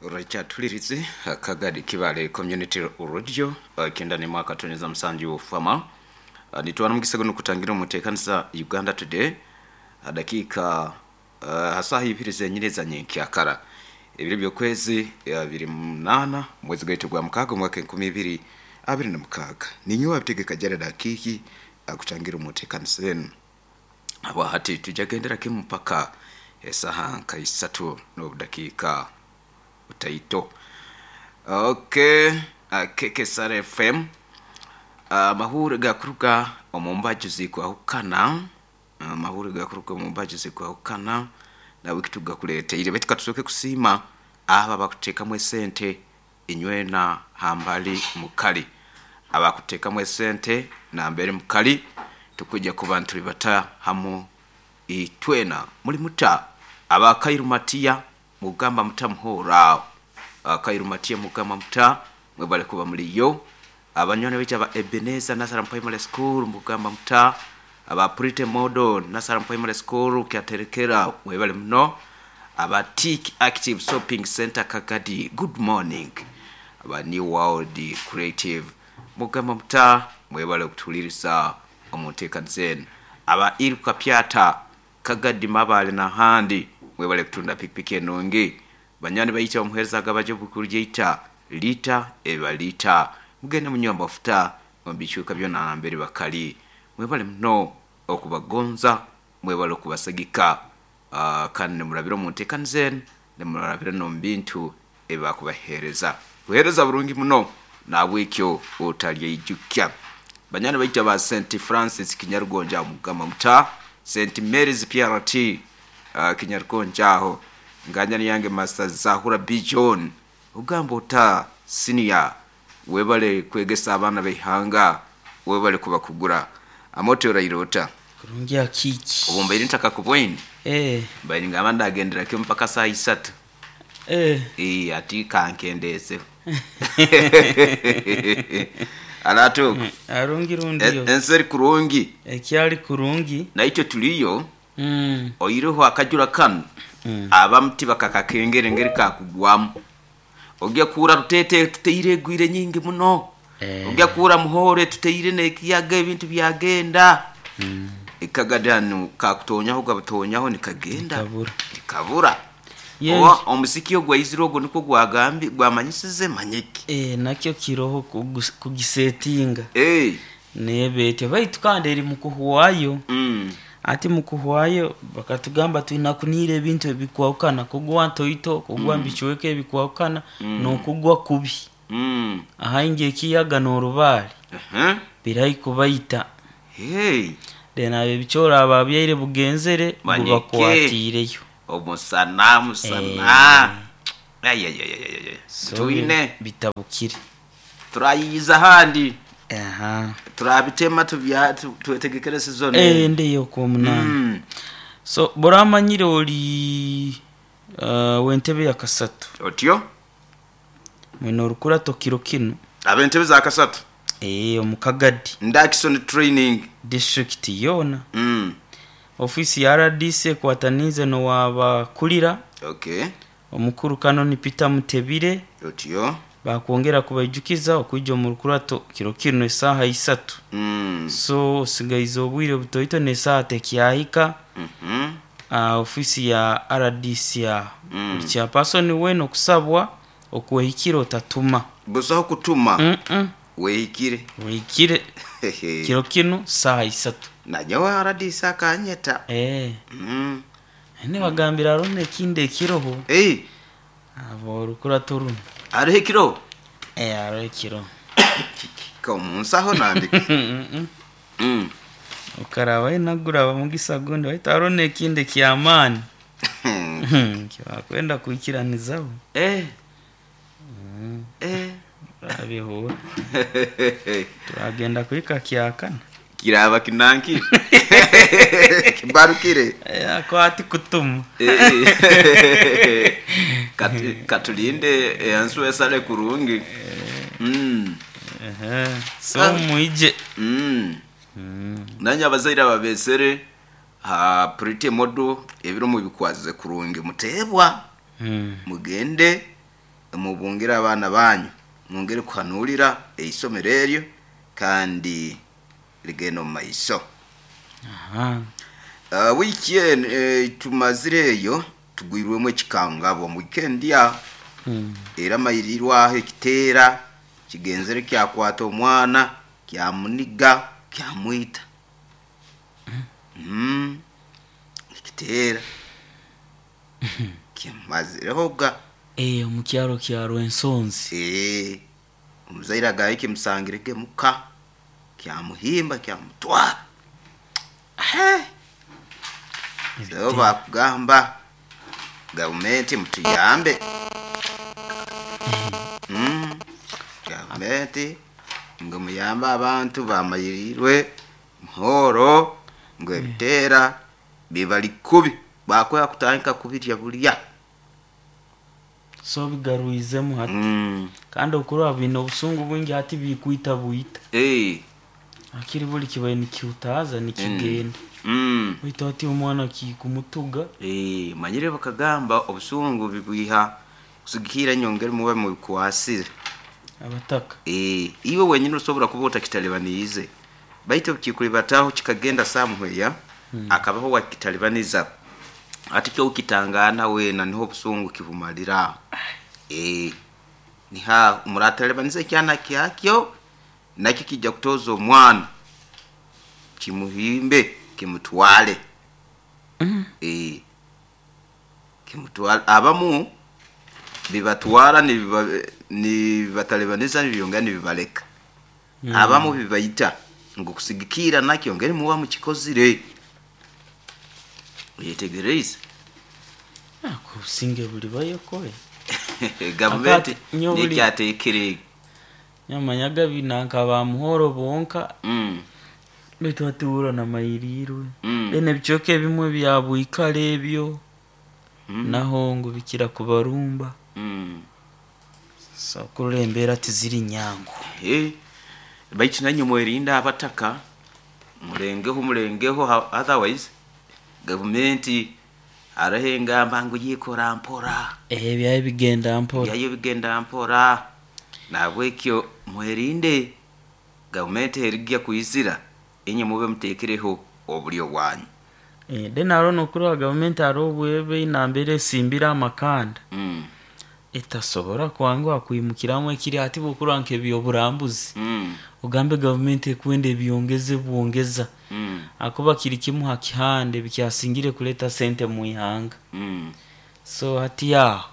Rakyatulirize Kagadi Kibale Community Radio, kenda ni mwaka tonyeza musanju fama. Nitwara mukisa guno kutangira omuteekanisa Uganda Today dakika hasaha ibiri zenyine za nyenkyakara ebiro by'okwezi 28 mwezi gwaitu gwa mukaaga omwaka 2026. Ninyowe abitegeka Jared Akiiki akutangira omuteekanisa enu. Aba hati tujagendera kimu mpaka esaha nka isatu n'obudakiika butaito. Okay, KKSR FM, amahuri gakuruga omu mbaju zikwahukana, amahuri gakuruga omu mbaju zikwahukana nawe kitugakuleteire. Baitu katusooke kusiima abo abakuteekamu esente inywena hambali mukali, abakuteekamu esente nambere mukali, tukujja kuba ntulibata hamu itwena muli muta. Abakairu matiya mugamba muta muhora, akairu matiya mugamba muta mwebale kuba muliyo. Abanywani baitu aba Ebeneza Nasaram Primary School mugamba muta, aba Prite Model Nasaram Primary School kyaterekera mwebale muno. Aba Tik Active Shopping Center Kagadi, good morning. Aba New World Creative mugamba muta mwebale okutuhuliriza omu nteekaniza enu. Aba Iruka Pyata Kagadi Mabale n'ahandi mwebale kutunda pikipiki enungi. Banywani baitu abamuheereza agabaja obukuru lyaita liita eba liita, mugende munywe amafuta omu bicweka byona nambere bakali. Mwebale muno okubagonza, mwebale okubasagika, kandi nimurabira omu nteekaniza enu, nimurabira n'omu bintu ebi bakubaheereza. Buheereza burungi muno, nahabwekyo otalyeijukya. Banywani baitu aba St Francis Kinyarugonja mugamba muta, St Mary's PRT Kinyarugonja aho, nganjani yange Master Zahura B John, ogamba ota senior, webale kwegesa abaana b'eihanga, webale kubakugura. Amote oraire ota? Kurungi akiiki. Obu mbaire ntakakubwaine, Eh, mbaire ningamba ndagendera kimu mpaka saaha isatu. eh. Ati kankendeezeho. Aratuuka. Arungi rundiyo. Ensi eri kurungi. Ekyali kurungi. Naitwe tuliyo. Oireho akajura kanu, abamu tibakakakengera engeri kakugwamu. Ojya kuhurra Ruteete tuteire egwire nyingi muno. Ojya kuhurra Muhore tuteire n'ekiyaga ebintu byagenda. Ekagadi hanu kakutonyaho gabutonyaho nikagenda. Nikabura. Nikabura. Yes. Oba omusiki ogwaizire ogwo nikwo gwagambi gwamanyisize manyiki. Nakyo kiroho kugisetinga. Neeba etyo baitu kandi eri mukuhwayo. Ati mukuhwayo bakatugamba twina kuniira ebintu ebikwahukana, kugwa ntoito, kugwa mubicweka ebikwahukana n'okugwa kubi. Ahaingi ekiyaga n'orubaare birahi kubaita. Hey. Then abo ebicoori ababyaire bugenzere Manyike. gubakwatiireyo. Omusana musana. Ayayayayaya. So Twine bitabukire. turayiyiza ahandi. Aha. Turabitema tubya twetegekere season. Ndeyo okwomunaana. So boramanyire ori w'entebe ya kasatu. Otyo? Mwine orukurato kiro kinu. Ab'entebe za kasatu. Omu Kagadi. Ndakison Training. District yoona. Ofiisi ya RDC ekwataniize n'owabakurira. Okay. Omukuru Canon Peter Mutebire. Otyo. Bakwongera kubaijukiza okwija omu rukurato kiro kinu esaaha isatu. So osigaize obwire butoito n'esaaha tekyahika. Ofiisi ya RDC aho. Buli chairperson weena okusabwa okwehikira otatuma. Busaho kutuma. Wehikire. Wehikire. Kiro kinu saaha isatu. Nanyowe RDC akanyeta. Nibagambira hariho n'ekindi ekiroho. Abo orukurato runo. Hariho ekiroho? Hariho ekiroho. Omunsaho nandika. Okaraba naguraba mugisa gundi baitu hariho n'ekindi eky'amaani. Kibakwenda kwikiranizaho. Turabihura. Turagenda kuhika kyakana. Kiraba kinanki. Kibarukire. Akwati kutuma. Katulinde ensu esale kurungi. So mwije. Nanye abazaire ababesere ha Pretty Model ebiro mubikwazize kurungi mutebwa. Mugende. Mubungire abaana banyu, mwongere kuhanulira eisomero eryo kandi ligenda omu maiso. Aha. Wiiki eno tumazire eyo tugwirwemu ekikangabwa omu weekend ya era mairirwaho ekiteera kigenzere kyakwata omwana kyamuniga kyamwita. Ekiteera kimazirehoga. Omu kyaro kya Rwensonzi. Omuzaire agaye kimusangirege muka kyamuhimba kyamutwara. So bakugamba gavumenti mutuyambe. Gavumenti ngu muyambe abantu bamayirirwe muhoro ngu ebiteera bibali kubi bakwera kutandika kubirya bulya. So bigarwizemu hati. Kandi okuraba biine obusungu bwingi hati bikwita bwita. Akiri buli kibaire nikihutaaza nikigenda. Baitu hati omwana kikumutuga. Manyire bakagamba obusungu bibwiha kusigikira nyongere muba mubikwasire. Abataka. Iwe wenyini osobora kuba otakitalibaniize. Baitu kikulibataho kikagenda somewhere akabaho wakitalibaniza. Ati kyo kitangana wena niho obusungu kibumalira. Niha muratalibaniza ekyana kyakyo nakyo kijja kutoza omwana kimuhimbe kimutwale. Kimutwale abamu bibatwara nibibatalibaniza nibyongera nibibaleka. Abamu bibaita ngu kusigikira nakyo ngeri muba mukikozire. Oyetegereze. Kubusinge buli bayokoye. Gavumenti nekyatekere. Nyamanyaga binanka ba muhoro bonka. Baitu hati na mayirirwe. Then ebicweka ebimwe bya bwikale ebyo. Naho ngu bikira kubarumba. So kurora embeera tiziri nyangu. Baitu nanye mwerinda abataka mulengeho otherwise gavumenti hariho engamba ngu yikora mpora. Ebyayo bigenda mpora. Ebyayo bigenda mpora. Nahabwekyo mwerinde gavumenti erigya kwizira inye mube muteekereho obulyo bwanyu. Then hariho nokurora gavumenti hariho obwebe nambere esimbire amakanda. Etasobora kwanguha kwimukiramu ekiri hati bwokurora nk'ebyoburambuzi. Ogambe gavumenti ekwenda ebyongeze bwongeza. Akuba kiri kimu ha kihande bikyasingire kuleta sente mu ihanga. So hati aho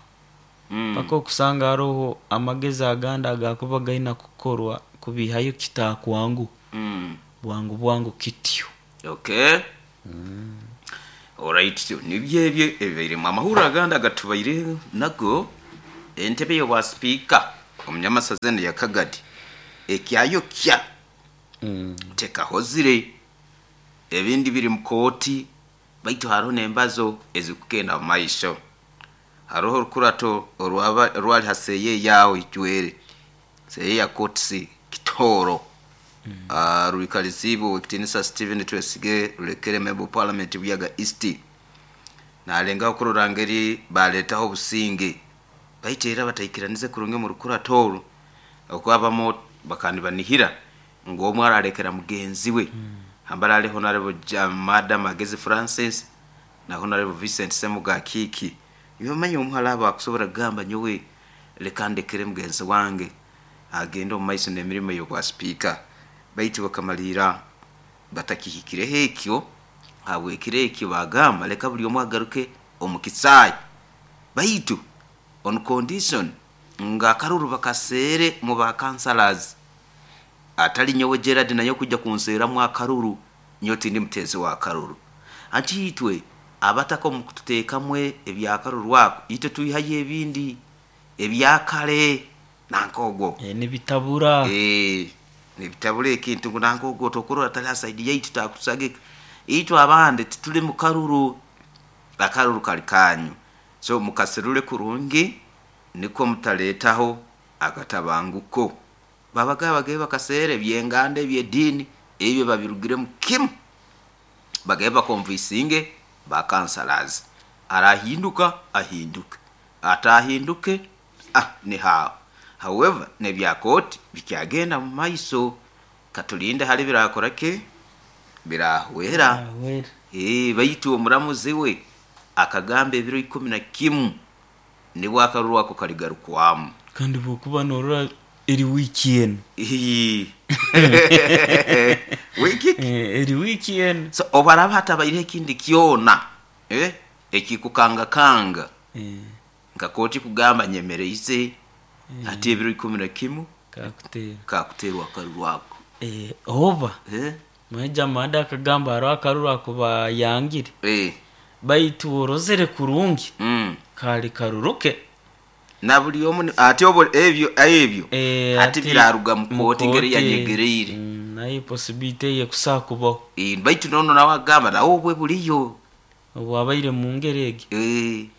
paka okusanga hariho amagezi agandi agakuba gaina kukorwa kubihayo kitakwangu. Bwangu bwangu kityo. Okay. Alright, nibyo ebyo ebibairemu amahuriro agandi agatubaire nago. Entebe y'obwa sipiika omunyamasaza eno ya Kagadi ekyayokya tekahozire ebindi biri mu kooti baitu hariho n'embazo ezikugenda mu maisho. Hariho orukurato orwali ha seeye yawe ijwere seeye ya kootisi Kitooro. Rwikaliziibwe Owekitinisa Stephen Twesige rulekere member of parliament Buyaga East. Nalengaho kurora ngeri baretaho obusinge baitu era bataikiranize kurungi omu rukurato oru okwabamu bakanibanihira ngu omwe aralekera mugenzi we. Hambara hariho Honorable Madam Magezi Francis na Honorable Vincent Semuga Kiki. Yomanya omuhara abo akusobora kugamba nyowe leka ndekere mugenzi wange agende omu maiso n'emirimo y'obwa sipiika. Baitu bakamalira batakihikireho ekyo habwekiro ekyo bagamba leka buli omwe agaruke omu kisaayi. Baitu on condition nga akaruru bakaseere mu ba councillors. Atali nyowe Gerard naye kujja kunseeramu akaruru nyowe tindi muteezi wa karuru. Anti itwe abataka omu kututeekamwe ebyakaruru ako itwe twihayo ebindi ebyakare nanka ogwo. Nibitabura. Nibitabura ekintu ngu nanka ogwo tokurora tali ha side yaitu takutusagika. Itwe abandi tituli mu karuru, akaruru kali kanyu. So mukaserure kurungi nikwo mutaletaho akatabanguko. Babaga bagabe bakaseera ebyenganda ebyediini ebyo babirugiremu kimu. Bagabe bakonvisinge ba councillors. Arahinduka ahinduke. Atahinduke Ni haaho. However, n'ebya kooti bikyagenda mu maiso, katulinde hali birakora ki, birahwera. Ahwera. Baitu omuramuzi we akagamba ebiro 11 nibwo akaruru ako kaligarukwamu. Kandi bwokuba norora eri wiiki enu. Wiki ki? Eri wiiki enu. So obu haraaba hatabaireho ekindi kyona, ekikukangakanga, nka kooti kugamba nyemereize hati ebiro 11 Kakuteera. Kakuteerwa akaruru ako. Oba Mwaija Mada akagamba hariho akaruru ako bayangire. Baitu orozere kurungi, kali karuruke. Na buli omu ati obo ebyo ebyo hati biraruga mu kooti ngeri yanyegereire. Naye possibility ye kusaa kubaho. Baitu nono nawe agamba nawe obwe buliyo. Obwabaire mu ngeri egi.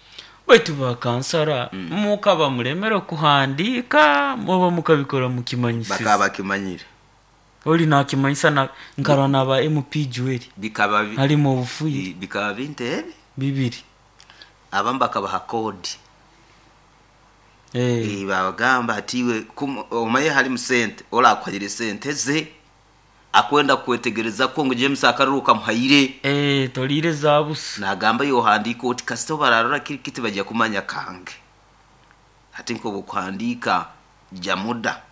Baitu bakansara mukaba mulemere kuhandika muba mukabikora mukimanyisiza. Bakaba bakimanyire. Oli nakimanyisa na nkarwa naba MP Joel. Bikaba harimo obufuire. Bikaba bintebe bibiri. Abamu bakabaha kodi. Babagamba ati iwe omaye hari musente orakwahire sente ze akwenda kwetegereza ko ngo James akaruru kamuhaire. Tolire zabusa. Nagamba yohandika oti kasito bararora kiri kiti bajya kumanya kange. Ati nko bukuhandika jamuda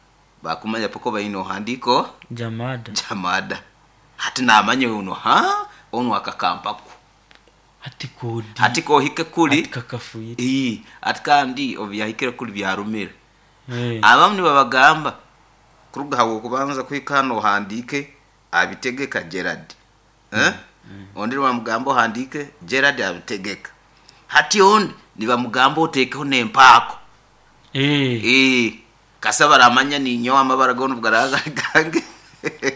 bakumanya poko bayino handiko jamada. Jamada. Ati namanye uno ha ono akakampaku. Ati kodi. Ati kohike kuri. Ati kakafuire. Ati kandi obyahikire kuri byarumira. Abamu nibabagamba kuruga hawo kubanza kwikano handike abitegeka Gerard. Ondi bamugamba handike Gerard abitegeka. Hati ondi nibamugamba otekeho nempako. Kasaba ramanya ni nyowa amabara gono bugaraga gange.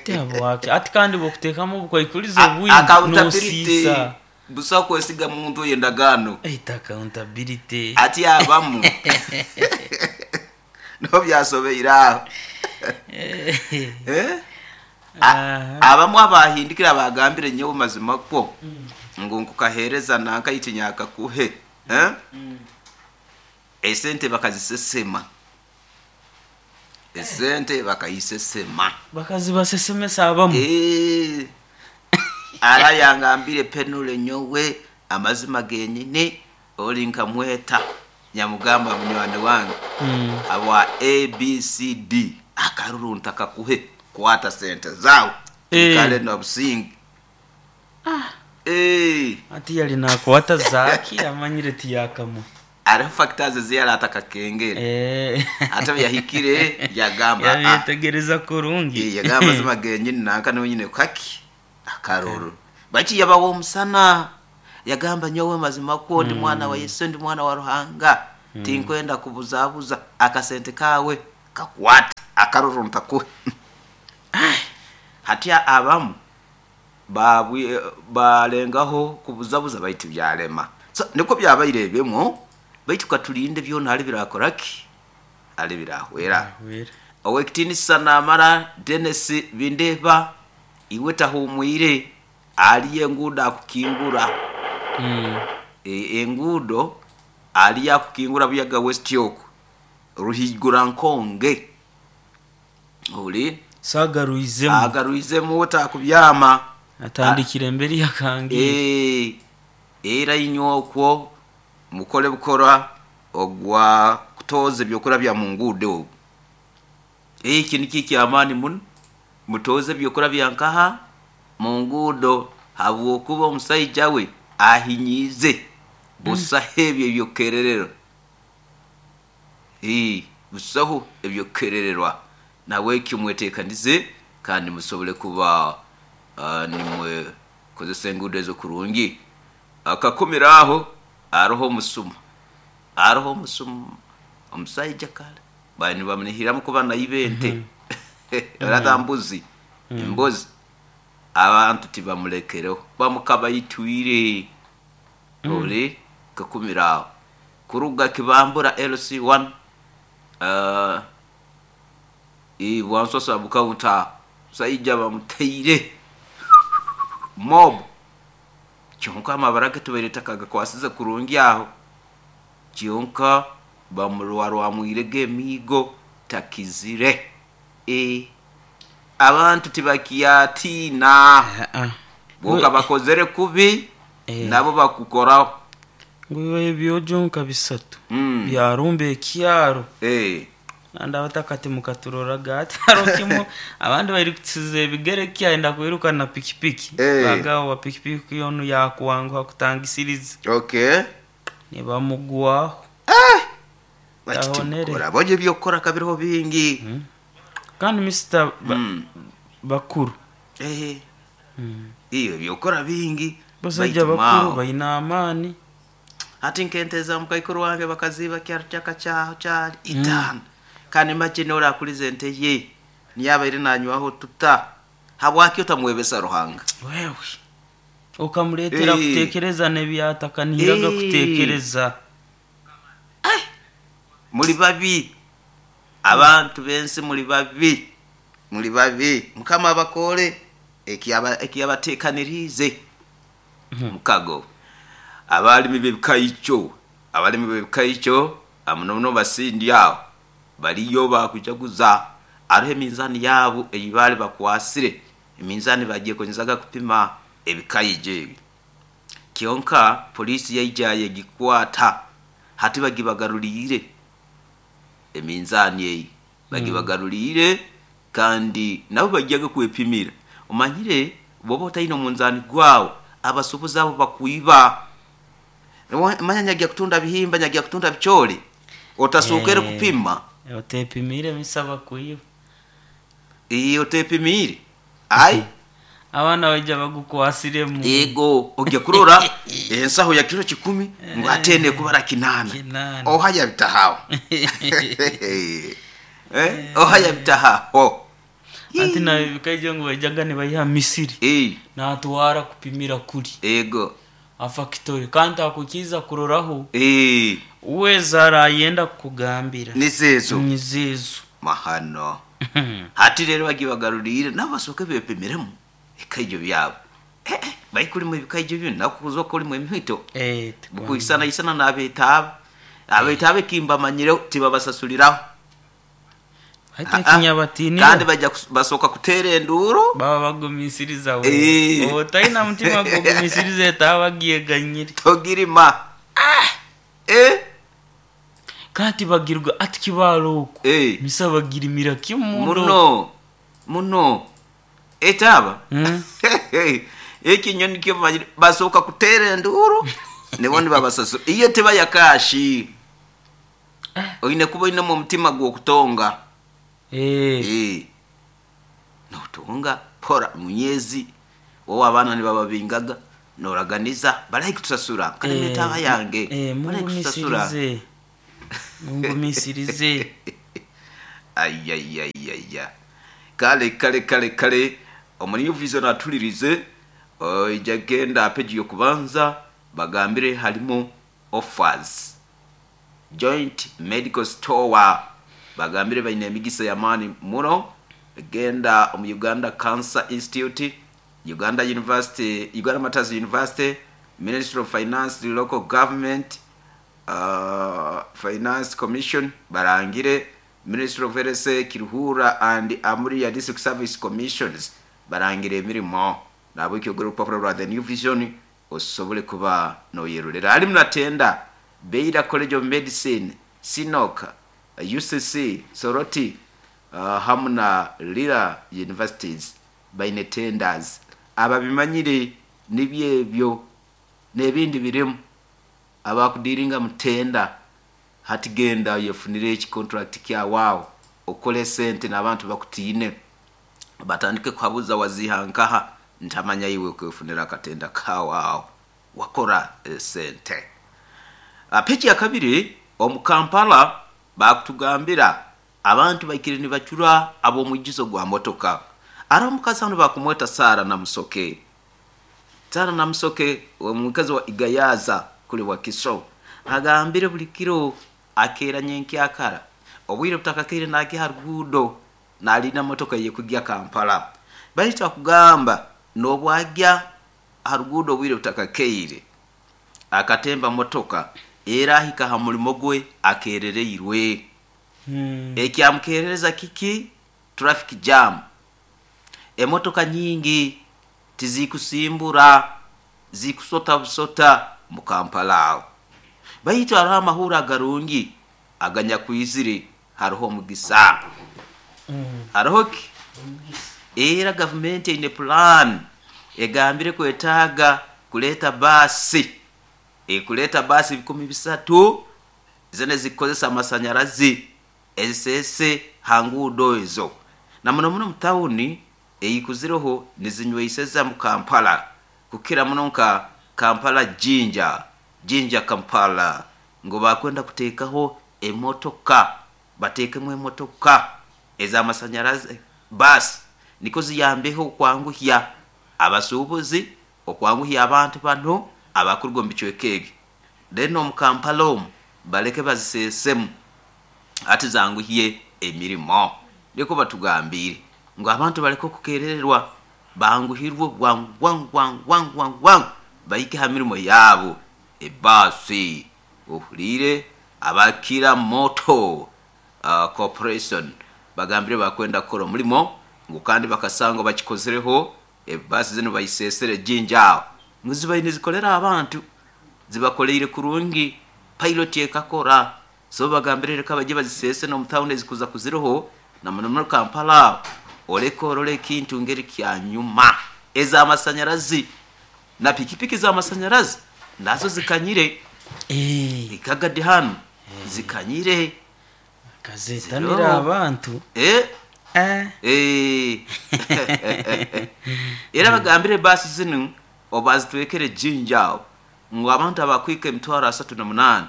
Tebo wake. Ati kandi bokutekamo bukwikuliza obwingi Accountability. nosisa. Busa kwesiga muntu yendagano. Accountability. Ati abamu. No byasobeira. Abamu abahindikira bagambire nyewe mazima ko ngo nkukahereza nanka itinyaka kuhe. Esente bakazisesema. Esente bakayisesema. Bakazibasesemesa abamu. Ara yangambire penule nyowe amazima genyine oli nkamweta nyamugamba munywani wange. Abwa ABCD akaruru ntakakuhe kwata sente zawe. Kale na busingi. Ati yali nakwata zaki amanyire tiyakamu. Ari factors ziyara atakakengere. Ata yahikire yagamba. Yabitegereza kurungi. Yagamba zima genyine nanka no nyine kaki akaruru. Bachi yabawo musana. Yagamba nyowe mazima ko ndi mwana wa Yesu ndi mwana wa Ruhanga. Tinkwenda kubuzabuza akasente kawe kakwata akaruru ntakuhe. Hatia abamu babwe balengaho kubuzabuza baitu byarema. So niko byabayirebemo baitu katulinde byona ali birakoraki ali birahwera. Owekitini sanamara Dennis Bindeba iwe tahumwire ali engudo akukingura. Engudo ali akukingura buyaga West York ruhigura nkonge. Uli sagaruizemu. Agaruizemu utakubyama. Atandikire mbere yakangi. Era inyokwo mukole bukora ogwa kutoze byokora bya mungude obu. Iki niki kyamani mun mutoze byokora bya nkaha mungudo habwokuba omusajja we ahinyize busaho ebyo byokererero. Busaho ebyokerererwa nawe kimwetekanize kandi musobole kuba nimwe kozesa engudo ezo kurungi. Akakomeraho aroho musuma. Aroho musuma omusajja kale bani bamunihiramu kuba naibente. Aratambuzi imbozi abantu tibamulekereho bamukabayitwire. Oli kakumiraho kuruga kibambura LC1 bwansosa bukawunta saija bamuteire mob kyonka amabara ge tubaire takaga kwasize kurungi aho kyonka Bamurwarwamwirege emiigo takizire. Abantu tibakyatiina. Boka bakozere kubi, nabo bakukoraho. Ngu ebyojo nka bisatu byarumba ekyaro. Kandi abatakati mukaturoraga ati haro kimu abandi bari kutsiza ebigere kyenda kwiruka na pikipiki. Bagawa pikipiki onu yakwanguha kutangisiriza. Nibamugwaho. Tahonere. Bonye byokukora kabiriho bingi. Kandi Mr. Bakuru. Iyo byokora bingi. Basajja bakuru bayina amani. Ati nkenteza mukaikuru wange bakaziba kyaro kyaka kyaho kyali itano. Kandi make nora akuliza ente ye niyabaire nanywaho tuta habwaki otamwebesa Ruhanga. Wewe ukamuletera kutekereza nebyatakaniraga kutekereza. Muri babi abantu bensi, muri babi, muri babi. Mukama abakore ekiyabatekanirize mukago. Abalimi b'ebikayico, abalimi b'ebikayico amunomuno basindi aho baliyo bakujaguza. Ariho eminzani yabo eyibali bakwasire, eminzani bagiye konyezaga kupima ebikayijo ebi. Kyonka polisi yaija yegikwata, hati bagibagarulire eminzani eyi, bagibagarulire kandi nabo bagiyaga kwepimira. Omanyire boba otaine omunzani gwawe, abasubuzi abo bakwiba. Manya nyagiya kutunda bihimba, nyagiya kutunda bichole, otasukere kupima. Otepimire misaba kuiba. Iyo otepimire ai abana baija bagukwasiremu. Ego ojya kurora ensaho ya kilo 10 ngo atende kubara 8. Ohaya bitahaho. Ohaya bitahaho. Ati na bikaije ngo bajaga ne bayiha Misiri. Natwara kupimira kuri. Ego afakitori kandi akukiza kuroraho. Uweza arayenda kugambira nizezo nizezo mahano. Hati rero bagibagarurire nabo basoke bepimiremo ebikayijo byabo. Bayikurimo ebikayijo byo nakuzo kuri mu emihito. Bukuisana isana n'abetaba abetaba kimbamanyire tibabasasuliraho. Hata kinyabatini kandi bajya basoka kutera enduro baba bagumisiriza we. Otaina mutima gumisiriza etabagiye ganyire togirima. Kati bagirwa ati kibalo uko misa bagirimira kimundo muno muno etaba. Ekinyoni kyo basoka kutera enduro nibone babasasu iyo teba yakashi. Oine kuba ine mu mutima gwo kutonga. Notonga pora munyezi wowe abana nibababingaga noraganiza barayi kutusasura kandi metaba yange barayi kutusasura. Mungumisirize. Ayayayaya kale kale kale kale omunyu vision atulirize ijya genda page yo kubanza bagambire harimo offers joint medical store bagambire bayine emigisa ya mani muno. Genda mu Uganda Cancer Institute, Uganda University, Uganda Matters University, Ministry of Finance, Local Government, Finance Commission barangire, Ministry of Health, Kiruhura and Amuria District Service Commissions barangire emirimo. Nabo ikyo rupapuro rwa The New Vision osobole kuba noyerurera. Ali munatenda Beira College of Medicine, Sinoka, UCC, Soroti, hamwe na Lira Universities baine tenders. Ababimanyire nibyebyo n'ebindi birimu abakudiringa mutenda hati genda yefunire eki contract kya wao okole sente n'abantu bakutiine batandike kuhabuza wazihankaha ntamanya iwe kwefunira akatenda kawao wakora sente. Peji ya kabiri omu Kampala bakutugambira abantu baikire nibacura ab'omwijizo gwa motoka. Ara omukazi hano bakumweta Sara Namusoke. Sara Namusoke omukazi wa Igayaza kuli wa Kiso agambire buli kiro akera nyenkyakara obwire butakakire naki harugudo nalina motoka ye kujya Kampala. Bayita kugamba nobwajya harugudo obwire butakakeire akatemba motoka Era ahika ha mulimo gwe akerereirwe. Ekyamukerereza kiki? Traffic jam, emotoka nyingi tizikusimbura, zikusota busota mu Kampala aho. Baitu hariho amahuri agarungi aganyakwizire, hariho omugisa. Hariho ki? Era gavumenti eine plan, egambire kwetaaga kuleeta baasi, ekuleeta baasi 3,000 zinu ezikukozesa amasanyarazi, eziseese ha nguudo ezo. Na muno muno mu tawuni eyikuzireho nizinyweiseza mu Kampala, kukira muno nka Kampala Jinja, Jinja Kampala, ngu bakwenda kuteekaho emotoka, bateekemu emotoka ez'amasanyarazi, baasi, nikwo ziyambeho okwanguhya abasuubuzi, okwanguhya abantu banu abakuruga omu bicweka ebi. Then omu Kampala omu baleke baziseesemu hati zanguhye emirimo. Nikwo batugambiire ngu abantu baleke okukerererwa, banguhirwe bwangu bwangu bwangu bwangu bwangu bwangu bahike ha mirimo yaabo. Ebaasi ohuliire abakira Motor Corporation bagambire bakwenda kukora omulimo ngu kandi bakasanga bakikozereho ebaasi zinu bayiseesere Jinja aho ngu zibaire nizikolera abantu, zibakoleire kurungi, pilot ekakora. So bagambire leka bajye baziseese n'omu tawuni ezikuza kuziroho na muno muno Kampala aho, oleke orole ekintu ngeri kyanyuma. Ez'amasanyarazi na pikipiki z'amasanyarazi nazo zikanyire. Ikagadi hanu zikanyire. Kazetanira Ziroho. abantu. Era bagambire baasi zinu obazitwekere Jinja aho ngu abantu abakwika 380,000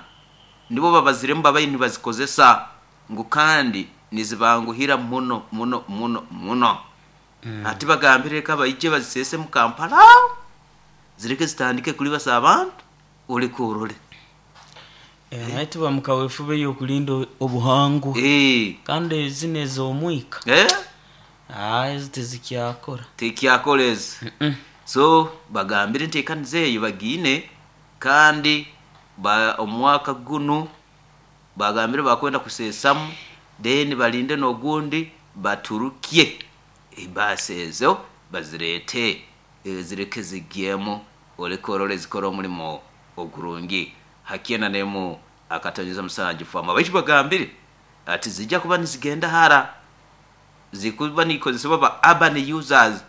nibo babaziremu babaire nibazikozesa, ngu kandi nizibanguhira muno muno muno muno. Hati bagambire reka baije baziseese mu Kampala aho, zireke zitandike kulibasa abantu, oleke orole. Naye tuba mu kaweefube y'okulinda obuhangwa. Kandi zinu ez'omwika. Ezo tizikyakora. Tikyakora ezo. So bagambire enteekaniza eyo bagiine, kandi omwaka gunu bagambire bakwenda kuseesamu, then balinde n'ogundi baturukye ebaasi ezo bazireete, zireke zigyemu, oleke orole zikore omulimo ogurungi. Hakyena nemu akatonyeza musanju fama. Baitu bagambire ati zijja kuba nizigenda hara, zikuba nikozesebwa ba urban users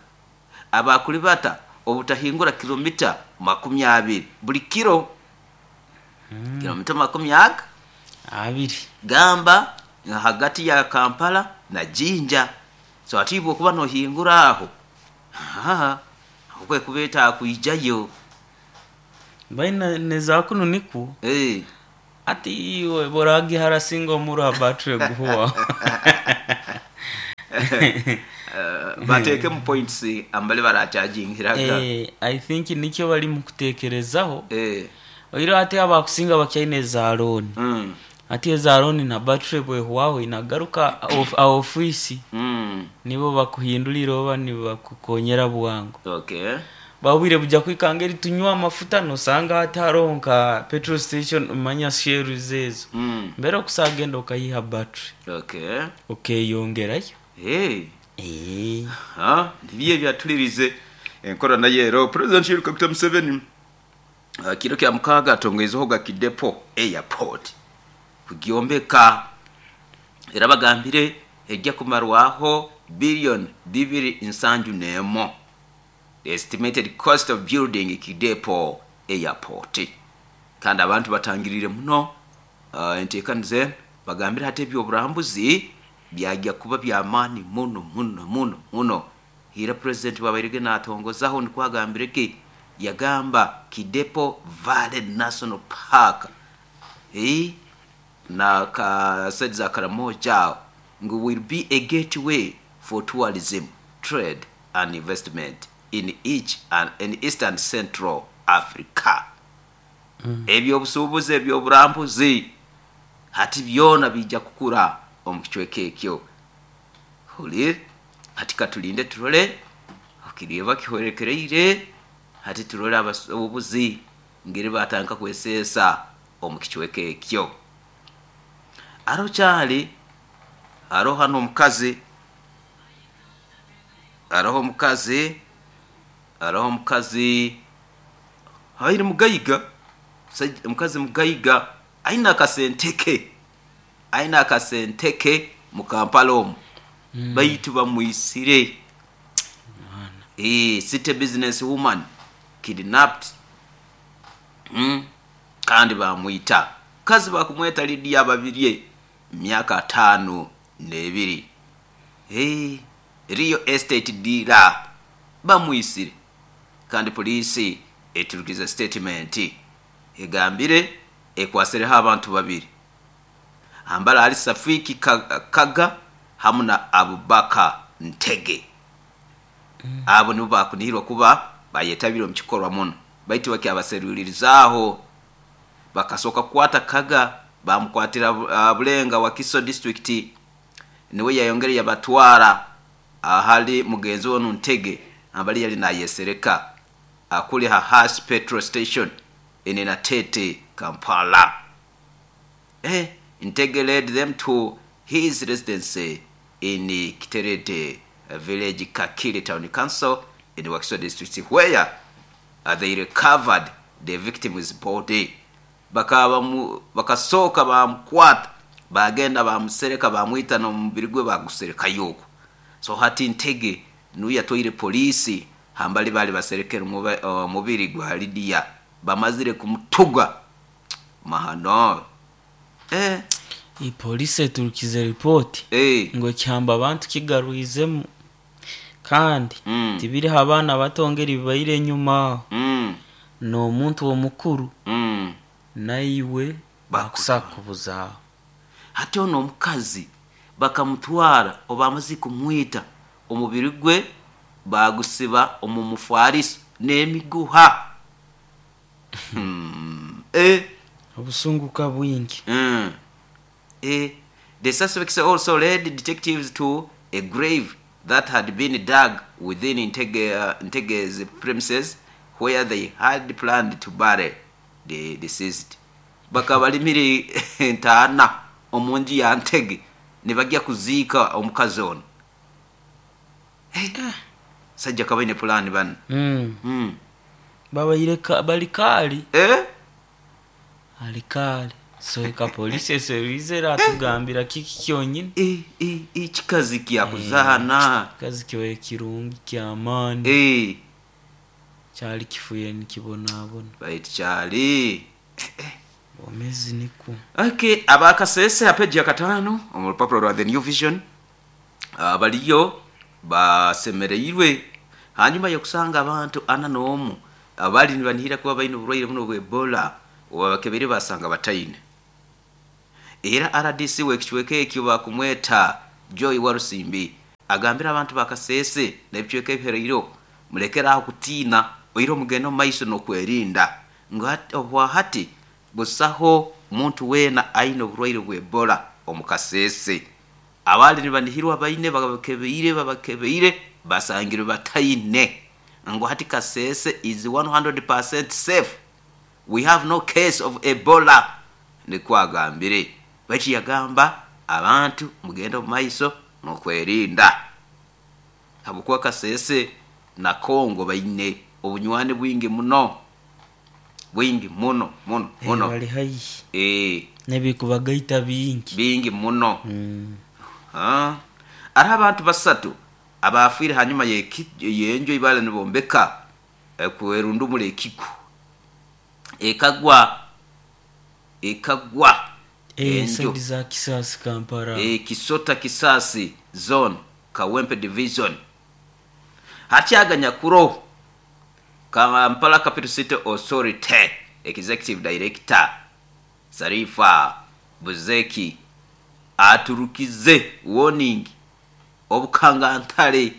abakulibata obutahingura kilomita 20 buli kiro. Kilomita makumi aga? Abiri. Gamba hagati ya Kampala na Jinja. So ati ibwe okuba nohingura aho, okwe kubeeta kwijayo. Baina nezakunu nikwo. Ati iwe boragihara singa omuro ha battery guhuwa. Bateekemu points ambali barachajingiraga. I think nikyo bali mukutekerezaho. Oiro ati abakusinga bakyaine za loan. Ati eza loan na battery bwehwaho inagaruka ofisi. Nibo bakuhindulira oba nibakukonyera bwangu. Babwire buja kwikanga eri tunywa amafuta nosanga hati hariho nka petrol station manya Shell ezo. Mbere okusagenda okayiha battery. Okeyongerayo. Nibiyo ebyatulirize enkora nayo ero. President Yoweri Kaguta Museveni kiro kya mukaaga atongeizeho ga Kidepo Airport kugyombeka. Era bagambire ejja kumarwaho billion bibiri nsanju n'emo. The estimated cost of building Kidepo Airport. Kandi abantu batangirire muno enteekaniza enu, bagambire hati eby'oburambuzi byajja kuba by'amaani muno muno muno muno. Hira President bwabairege naatongozaho nikwo agambire ki, yagamba Kidepo Valley National Park na ka side za Karamoja aho ngu will be a gateway for tourism, trade and investment in each and in East and Central Africa. Eby'obusuubuzi, eby'oburambuzi hati byona biija kukura omu kicweka ekyo. Hulir, hati katulinde turole okirieba kihwerekereire, hati turole abasuubuzi ngeri batandika kweseesa. Omu kicweka ekyo aro kyali haroho hano omukazi, haroho omukazi, haroho omukazi aine mugaiga, omukazi mugaiga aine akasente ke, aine akasente ke mu Kampala omu, baitu bamwisire. City business woman kidnapped, kandi bamwita. Mukazi bakumweta Lydia Babirye, myaka 52. Real estate dealer bamwisire, kandi poliisi eturukize statement egambire ekwasireho abantu babiri ambala ali Safiki Kaga hamu na Abubakar Ntege. Abo nibo bakunihirwa kuba bayetabire omu kikorwa muno, baitu bakyabaserulirizaaho. Bakasooka kukwata Kaga, bamukwatira Bulenga, Wakiso district, niwe yayongere yabatwara ahali mugenzi we onu Ntege ambali yali nayesereka akuli ha Hass petrol station in Natete, Kampala. Ntege led them to his residence in Kiterede village, Kakiri Town Council in Wakiso district, where they recovered the victim's body. Bakasooka bamukwata, bagenda bamusereka, bamwita, n'omubiri gwe baguserekayo okwo. So hati Ntege nuwe yatwaire poliisi hambali bali baserekere omubiri gwa Lydia bamazire kumutuga mahano. Polisi eturukize ripoti ngu ekihamba abantu kigarwizemu, kandi tibiriho abaana batongera bibaire enyuma aho, n'omuntu omukuru naiwe bakusakubuzaaho. Hati ono omukazi bakamutwara obamaze kumwita, omubiri gwe bagusiba omu mufariso n'emiguha. Obusunguka bwingi. The suspects also led detectives to a grave that had been dug within Ntege's premises where they had planned to bury the deceased. Bakaba balimire entaana omu nju ya Ntege nibagya kuziika omukazi ono. Sajja kabaine pulaani banu. Babaire bali kaali. Ali kaali. So eka polisi eseruize eratugambira kiki kyonyini. Ekikazi kyakuzaana. Kikazi kyoye kirungi kyamaani. Kyali kifuire nikibonabona. Baitu kyali. Omezi nikwo. Okay, abakasese ha peji ya 5 omu rupapuro rwa The New Vision baliyo basemereirwe hanyuma y'okusanga abantu 41 abali nibanihira kuba baine oburwaire buno bwa Ebola, obabakebere basanga bataine. Era RDC w'ekicweka ekyo bakumweta Joy Warusimbi agambira abantu bakasese n'ebicweka ebihereiro, mulekere aho kutiina, oire omugendo omu maiso n'okwerinda, ngu obwahati busaho muntu weena aine oburwaire bwa Ebola omu Kasese. Abali nibanihirwa baine babakebeire basangirwe bataine, ngu hati Kasese is 100% safe, we have no case of Ebola, nikwo agambire. Baitu yagamba abantu mugende omu maiso n'okwerinda, habwokuba Kasese na Kongo baine obunywani bwingi muno, bwingi muno muno muno. Bali haihi. N'ebikubagaita bingi. Bingi muno. Hariho abantu 3 abafiire hanyuma y'enju ibale nibombeka kwerundumura ekiku ekagwa enju za Kisasi Kampala, Kisota Kisasi zone, Kawempe division. Hakyaganyakuro Kampala Capital City Authority Executive Director Sarifa Buzeki aturukize warning obukangantale,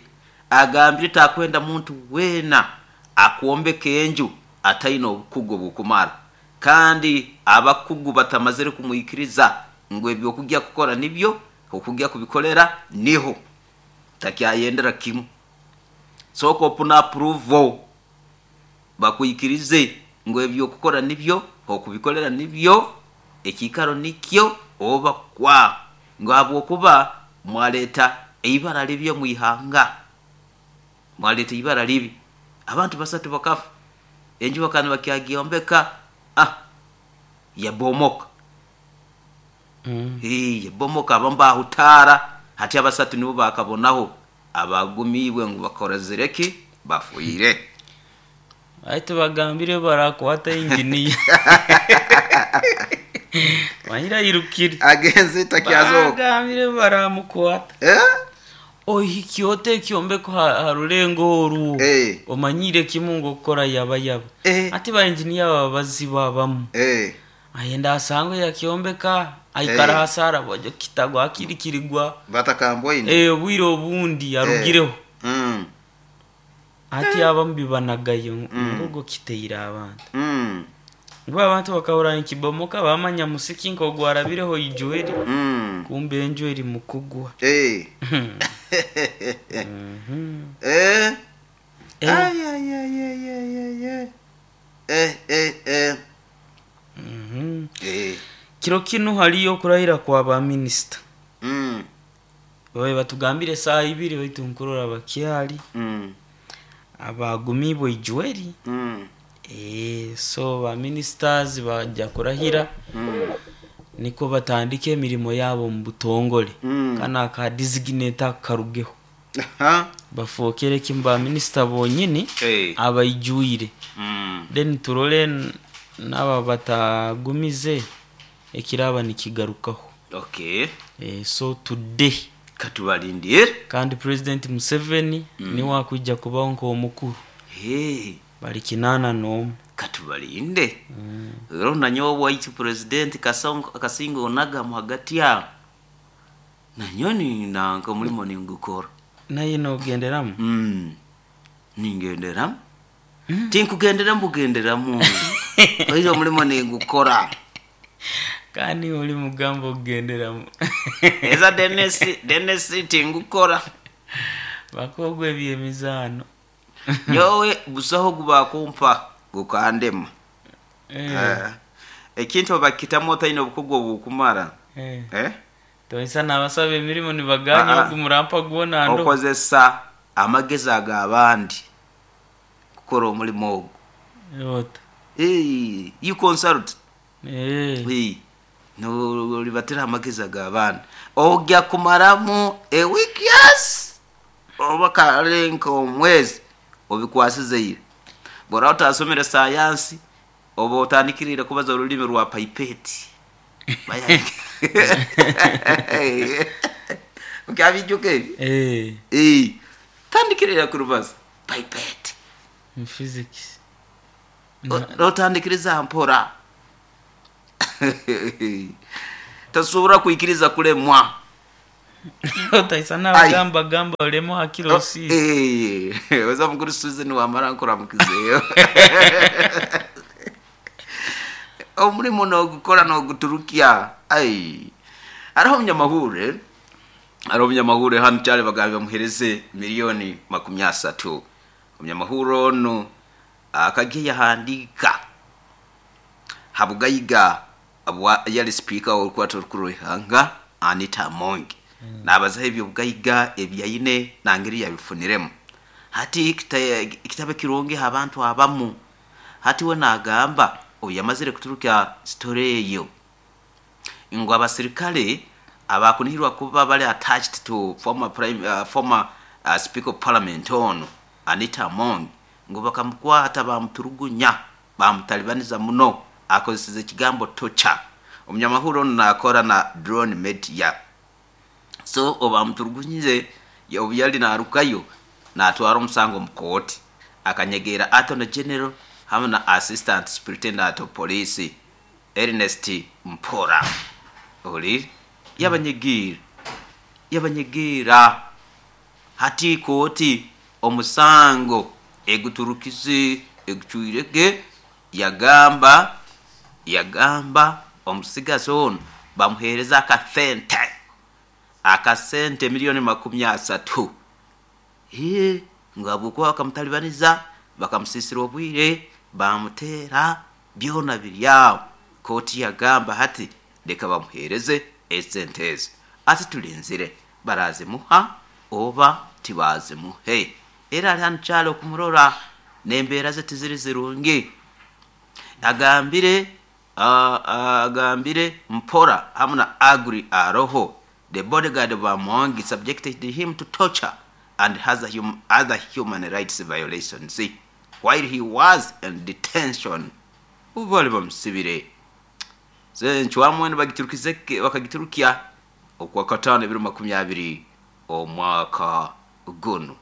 agambire takwenda muntu weena akwombeka enju ataine obukugu obukumara, kandi abakugu batamazire kumwikiriza ngu ebyokujya kukora nibyo okujya kubikolera niho takyayendera kimu. Sooka opuna approval bakwikirize ngu ebyokukora nibyo. Okubikolera nibyo ekiikaro nikyo oba kwa ngu habwokuba mwaleeta eibara libi omu ihanga, mwaleeta ibara libi, abantu basatu bakafa, enju bakaba nibakyagiyombeka, yabomoka. Yabomoka, abamu bahutaara, hati abasatu nibo bakabonaho abagumiibwe ngu bakorozire ki, bafiire. Baitu bagambire barakwata inginiya manyira ayirukire. Agenze takyazoka. Bagambire baramukwata. Ohikya ota ekyombeko ha rulengo oru, omanyire kimu ngu okukora yaba yaba. Ati ba inginiya baba bazibu abamu. Ayenda asangwe yakyombeka, aikara hasara bwajo kitagwa akirikirigwa. Batakambwaine. Obwire obundi arugireho. Ati abamu bibanagayo ngogo kiteire abantu. Ngu abantu bakahura nkibomoka bamanya musiki nk'ogwarabireho ijweri. Kumbe enju eri mukugwa. Ay, ay, ay, ay, ay, ay, ay. Kiro kinu haliyo okurahira kwa ba minisita. Babe batugambire saa ibiri baitu nkurora bakyali. Abagumibwe ijweri. So ba ministers bajja kurahira. Niko batandike emirimo yabo mu butongole. Kana aka designate karugeho. Bafokere kimu ba minister bonyini abaijwire. Then turole n'aba batagumize ekiraba nikigarukaho. So today katubalindire. Kandi President Museveni niwe akwijja kubaho nk'omukuru. Bali 81. Katubalinde. Rero nanyowe waitu President Kasinga onaga mu hagati ya nanyoni nanka omulimo ningukora. Naye nogenderamu? Ningenderamu. Tinkugenderamu bugenderamu. Oizo omulimo ningukora. Kandi oli mugambo okugenderamu. Eza Dennis tingukora. Bakogwe ebyemizaano. Nyowe busaho gubakumpa gukandema. Ekintu bakitamu otaine obukugu obukumara. Toisa n'abasaba emirimu nibaganya ogumurampa gwona ndo. Okozesa amagezi ag'abandi kukora omulimo ogwo. Ota. You consult. No libatira amagezi ag'abandi. Ogya kumaramu a week, yes. Oba karenka omwezi obikwasizeire. Bora otasomere sayansi oba otandikirire kubaza olulimi rwa pipette. Ukyabijuka ebi? Tandikirira kurubaza pipette. Mu physics. Otandikiriza mpora. Tasobora kwikiriza kulemwa. Otaisa n'abagamba gamba olemo hakiro si. Oza mukuru Susan wamara nkuramukizeyo. Omulimo n'ogukora n'oguturukia. Ai. Hariho omunyamahure. Hariho omunyamahure hano kyali bagambye bamuhereze 30 million. Omunyamahure ono akagiye yahandika habugayiga bwa yali speaker w'orukwata orukuru rw'ihanga Anita Among. Nabazaho ebyobugayiga ebyaine nangeri yabifuniremu. Hati ekitabo kirungi abantu abamu. Hati we nagamba obu yamazire kuturuka story eyo ngu abasirikale abakunihirwa kuba bali attached to former prime, former speaker of parliament ono Anita Among ngu bakamukwata bamuturugunya bamutalibaniza muno, akozeseze ekigambo torture. Omunyamahuru ono nakora na drone media. So obamuturugunyize obu yali narukayo natwara omusango mu kooti, akanyegera Attorney General hamwe na Assistant Superintendent of Police Ernest Mpora. Oli yabanyegira yabanyegira hati kooti omusango eguturukize egucwirege, yagamba omusigazi ono bamuhereza akasente 30 million. Ngu habwokuba bakamutalibaniza bakamusisira obwire bamutera. Byona biri aho. Kooti yagamba hati leka bamuheereze esente ezo. Ati tulinzire barazimuha oba tibazimuhe. Era ali hanu kyali okumurora n'embeera ze tiziri zirungi. Agambire mpora hamu na Agri Aroho. The bodyguard of Amongi subjected him to torture and has other human rights violations while he was in detention. Ubu bali bamusibire. Ncwamu bagiturukize bakagiturukya okwa katano ebiro 20 omwaka guno.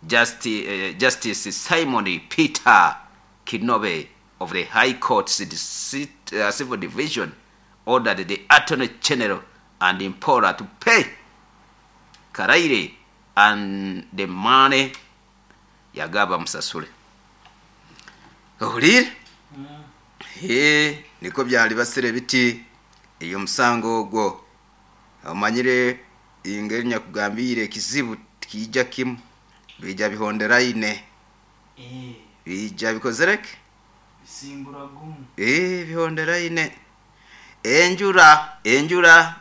Justice Simon Peter Kinobe of the High Court Civil Division ordered the Attorney General and Impora to pay Karaire and the money yagaba musasule. Ohulire? He, niko byali basire biti iyo musango ogwo. Omanyire ingeri nyakugambire ekizibu kijja kimu bija bihondera ine. Bija bikozereke? Bisimbura gumu. Bihondera ine. Enjura. Enjura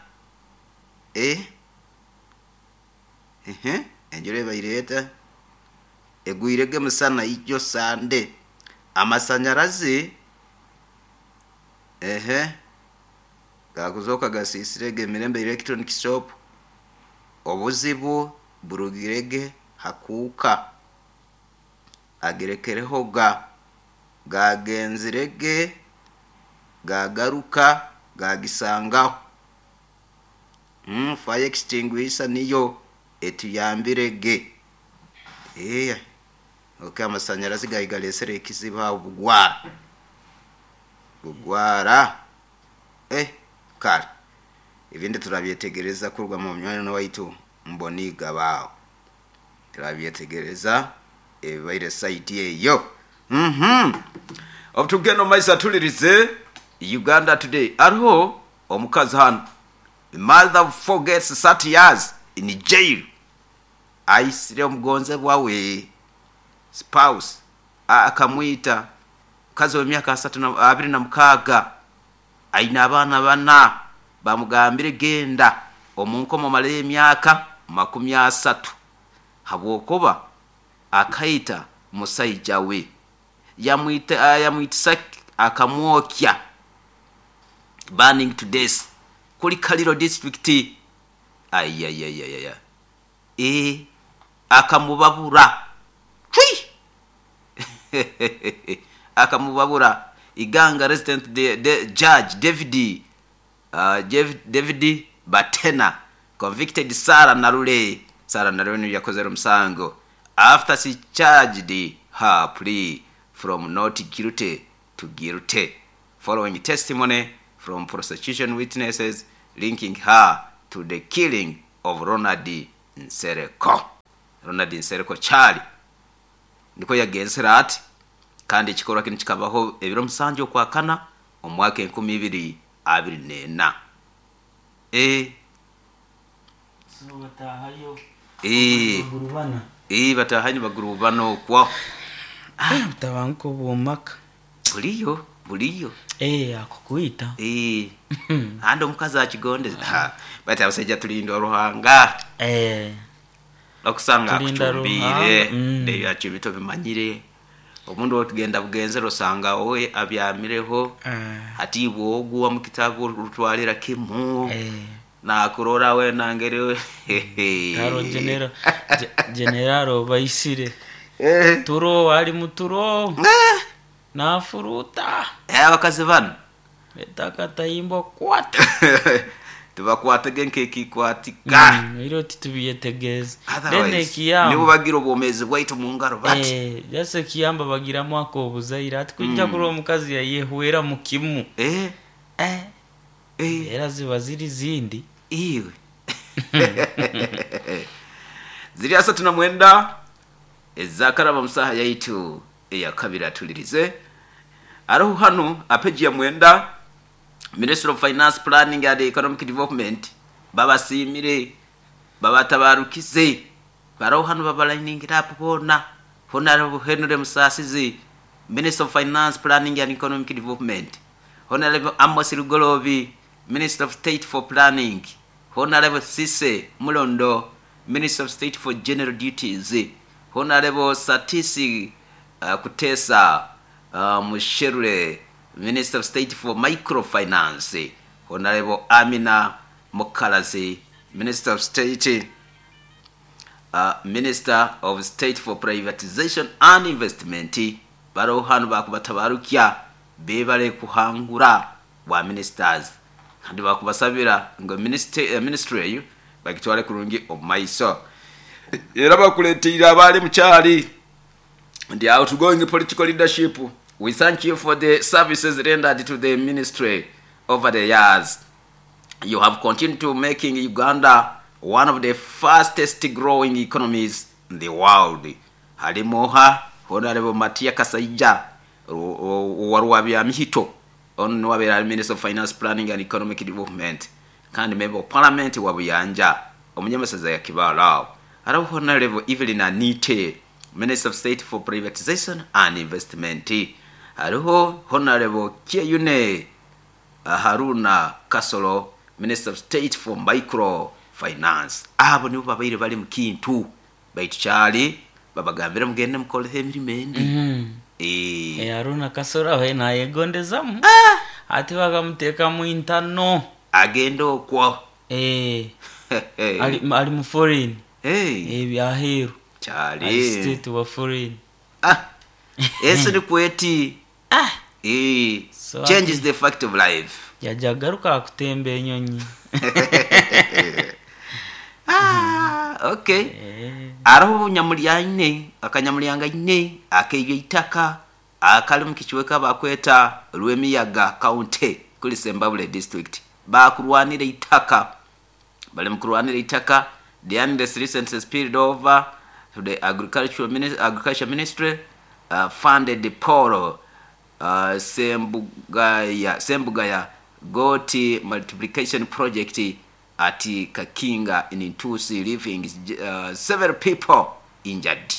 ebaireta. Egwirege musana ijo sande. Amasanyarazi gakuzoka gasisirege Mirembe Electronic Shop. Obuzibu burugirege hakuka. Agerekereho gagenzirege gagaruka gagisangaho. Fire extinguisher niyo etuyambirege. Okay, amasanyarazi gayigalesere ekizibu aho bugwara. Kale ibindi turabyetegereza kurwa mu myanya waitu mboniga bawo. Turabyetegereza ebaire site eyo. Obutugendo maisa tulirize Uganda Today. Ariho omukazi hano. Mother forgets 30 years in jail. Aisire omugonze bwawe spouse akamwita mukazi w'emyaka 26 aina abaana bana bamugambire genda omunkomo male emyaka 30 habwokuba akaita musaija we yamwitisa akamwokya burning to death kuli Kaliro district. Ayayayaya akamubabura chui akamubabura. Iganga resident the judge David Batena convicted Sarah Narule. Sarah Narule yakozera musango after she charged her plea from not guilty to guilty following testimony from prosecution witnesses linking her to the killing of Ronald Nsereko. Ronald Nsereko Charlie niko yagenzera ati kandi ikikorwa kino kikabaho ebiro musanju okwa kana omwaka 2024. So batahayo. Bagurubana. Batahanyo bagurubana okwa. Tabanko bomaka. Buliyo. Akukuita. Ando omukazi akigondeza. Bati abasajja tulinda Ruhanga. Okusanga akucumbire. Ndebyo bito bimanyire. Omundu otugenda bugenzero osanga wowe abyamireho. Ati bwoguwa mu kitabu rutwalira kimu. Nakurora we nangere. Taro general baisire. Turo ali muturo. Nafuruta. Abakazi bano. Betakatayimbo kwata. Tubakwatege nk'ekikwatika. Iro titubyetegereza. Then ekiyamba. Nibo bagira obwomezi bwaitu mu ngaro bati. Jase ekiyamba bagiramu ako obuzaire ati kujja kuri omukazi yayehwera mu kimu. Era ziba ziri zindi. Iwe. Ziri asa tunamwenda ezakaraba musaha yaitu eyakabira tulirize. Ariho hano apeji ya mwenda Minister of Finance Planning and Economic Development babasimire babatabarukize baraho hano babalayiningira apo bona Honorable Henry Musasizi Minister of Finance, Planning and Economic Development. Honorable Amos Lugolobi, Minister of State for Planning. Honorable Sise Mulondo, Minister of State for General Duties. Honorable Satisi Kutesa Musherure, Minister of State for Microfinance. Honorable Amina Mukalazi, Minister of State Minister of State for Privatization and Investment. Bariho hanu bakubatabarukya bebale kuhangura bwa ministers kandi bakubasabira ngo ministry eyo bagitwale kurungi omu maiso. Era bakuleteire abaali mukyali the outgoing political leadership. We thank you for the services rendered to the ministry over the years. You have continued to making Uganda one of the fastest growing economies in the world. Harimoha Honorable Matia Kasaija wa Mihito, ono wabeera Minister of Finance, Planning and Economic Development kandi Member of Parliament wa Buyanja omunyamasaza ya Kibaala. Hariho Honorable Evelyn Anite, Minister of State for Privatization and Investment. Hariho Honorable Kyeyune Haruna Kasolo, Minister of State for Microfinance. Abo nibo babaire bali mu kintu baitu kyali babagambire mugende mukoleho emirimo endi. Haruna Kasolo aho nayegondezamu ati bakamuteekamu intano agenda okwo. Ali mu foreign. Ebyaheeru kyali ali state wa foreign. Ensi nikweti. So change is the fact of life. Yajja agaruka akutemba enyonyi. Okay. Ariho nyamulyane akanyamulyanga ine akeyo itaka akali mu kichweka bakweta Lwemiyaga County kuli Sembabule District. Bakurwanira itaka, bali mukurwanira itaka. The unrest recently spilled over to the Agriculture Ministry funded the Paul Sembugaya goat multiplication project at Kakinga in Ntusi, leaving several people injured.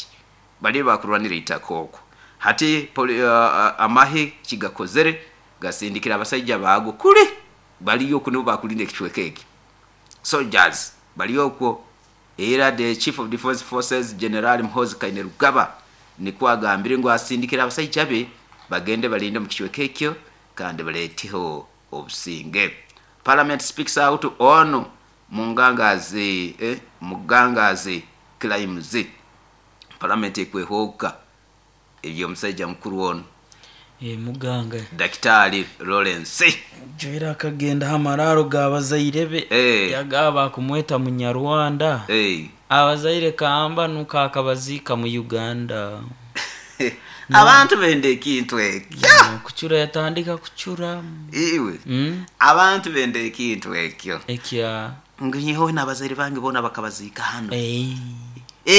Bali bakurwanira itaka okwo. Hati amahe kigakozere gasindikira abasajja baago kule baliyo kuno bakulinda ekichweka eki. Soldiers baliyo okwo. Era the Chief of Defense Forces General Muhoozi Kainerugaba nikwo agambire ngu asindikira abasajja be bagende balinde mu kichweka ekyo kandi baleeteho obusinge. Parliament speaks out on Mugangazi claims. Parliament ekwehoka ebyo omusajja mukuru ono. Muganga Daktari Lawrence Joera akagenda hamararo gabazaire be yagaba kumweta munyarwanda. Abazaire kamba nuka akabazika mu Uganda. Abantu bende ekintu ekyo. Kuchura yatandika kuchura. Iwe. Abantu bende ekintu ekyo. Ekya nginyeho n'abazaire bange bona bakabazika hano.